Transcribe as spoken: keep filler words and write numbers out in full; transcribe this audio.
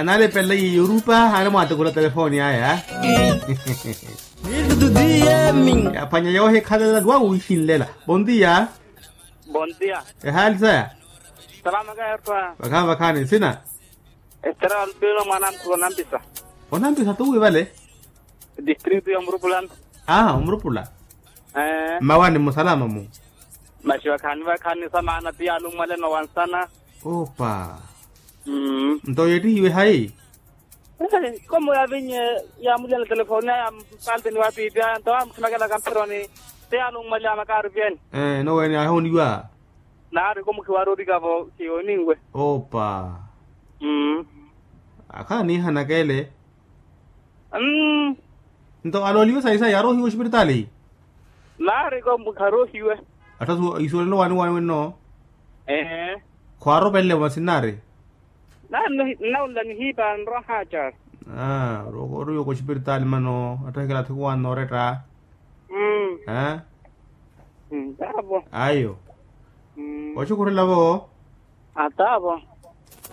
Analepelela iye yurupa, ale mwatukula telefooni aya. Yaphwanya yoohikhalela lwa wiixinlela. Bondia. Bondia. Ehaali saya? Salama kaertwa. Vakhaani vakhaani nsina? Estere alpino mwana mkhulu onampisa. Onampisa tuwi vale? Distrito ya omurupulano. Aa omurupula. Mmawaani mmusalama mu. Maxi vakhaani vakhaani samaana ti yaalummwaleno wansana. Opa. Nto yeettihiwe hayi? Komu yaavinnye, yaamulyana telefooni aya mpaltini wa piipi aya nto aamutthimekela kamphironi. Ti yaalummwalya makaari pyeni? Noweene aahoniwa. Naari komu khiwari orika-vo khiyoninwe. Opa. Akhaaniihanaka ele. Nto alooliwe sayi sayi yaarohiwe oxipiritaali? Naari komu kharohiwe. Atthu asuwelelo waani waani wenno? Ehe. Khwaaropelela masi nnaari? Naari nnaunla nihiipa nroha ca. Aa orohiwaka oxipiritaali mano atthu ahikhala athukuwa nnooretta. Aa. Taavo. Ayo. Oxukhurela-vo. Ataavo.